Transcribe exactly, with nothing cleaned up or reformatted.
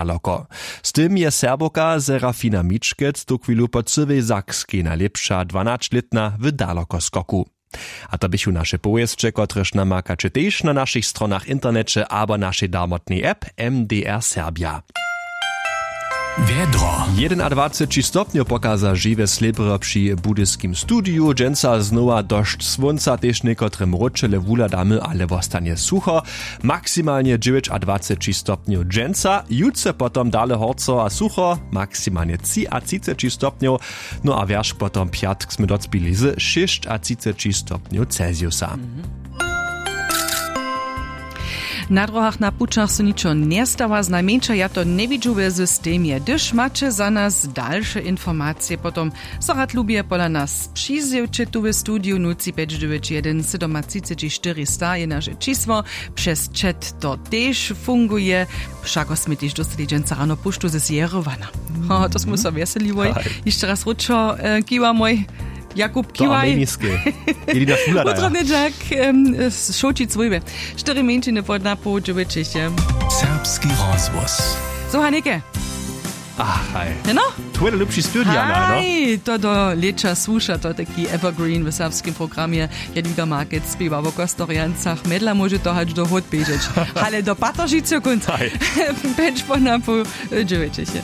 daloko. Z tym je Serbowka Serafina Mičkec tuchwilu po cyłej Sakskej najlěpša dwanaćlětna w dalokoskoku. A to běchu naše powěsće, kotrež namakaće tež na našich stronach, interneće abo našej darmotnej app M D R Serbja. Wjedro. Jedynadwaceći stopnjow pokaza žiwje slěbry při budyskim studiju. Dźensa znowa dosć słónca, tež někotre mróčele wuhladamy, ale wostanje sucho. Maksimalnje dźewjećadwaceći stopnjow dźensa, jutře potom dale horco a sucho, maksimalnje třiatřiceći stopnjow. No a wjerch potom pjatk smy docpili z šěsćatřiceći stopnjow Celsiusa. Na dróhach, na pućach so ničo njestawa, znajmjeńša ja to njewidźu we systemje. Hdyž maće za nas dalše informacije, potom so rad lubje pola nas přizjewće tu w studiju. Nul tři pjeć dźewjeć jedyn sydomatřiceći štyrista je naše čisło. Přez chat to tež funguje. Wšako smy tež dóstali dźensa rano puštu z Jerowana. Ho, to smy so wjeseliłoj. Hišće raz wróćo, e, kiwamoj. Jakub, kiwaj. Meniske. Ili na šula daja. Wutrodny dźak, em, z šołčic wójby. Štyri mjeńšiny pod napoł dźewjećich je. Serbski rozhłos. Słucha něke. Ach, haj. Jeno? Twój najlubši studija, no? Haj, to do lěća słuša, to taki evergreen w serbskim programje. Jadwiga Markec spěwa wo Kostorjancach, mjedla móže to hač do hód běžeć. Ale do Pateržicy kónc. Haj. Pjeć po napoł dźewjećich je.